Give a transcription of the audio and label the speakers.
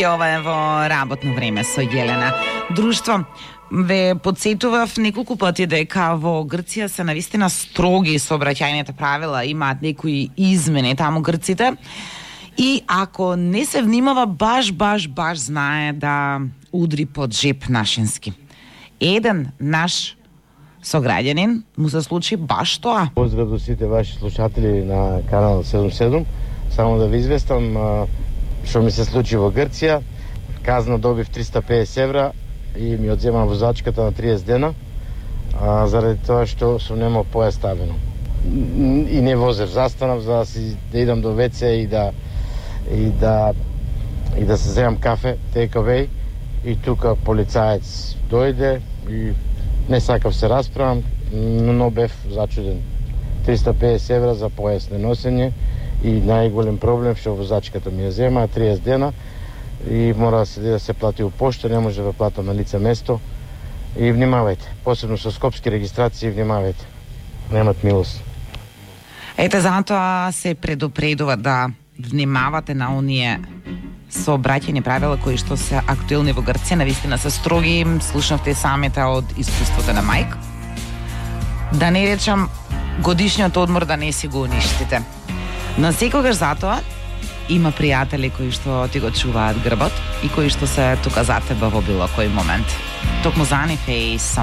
Speaker 1: И ова е во работно време со Јелена. Друштво, ве подсетував неколку пати дека во Грција се навистина строги сообраќајните правила, имаат некои измени таму грците. И ако не се внимава, баш знае да удри под жеп нашински. Еден наш сограѓанин му се случи баш тоа.
Speaker 2: Поздрав до сите ваши слушатели на канал 77. Само да ви известам што ми се случи во Грција. Казна добив 350 евра и ми одзема возачката на 30 дена, заради тоа што сум немал поја ставено. И не возев, застанав за да идам до ВЦ и да се земам кафе, take-away, и тука полицаец дојде и не сакав се расправам, но бев зачуден. 350 евра за појас неносење и најголем проблем што возачката ми ја зема 30 дена и мора да се плати у пошта, не може да платам на лице место. И внимавајте, посебно со скопски регистрации, внимавајте. Немат милост.
Speaker 1: Ете, затоа се предупредува да внимавате на оние сообраќајни правила кои што се актуелни во Грција, навистина се строги, слушнавте самите од искуството на мајк. Да не речам годишниот одмор да не си го уништите. Но секогаш затоа има пријатели кои што ти го чуваат грбот и кои што се тука за тебе во било кој момент. Токму за нив е и Someone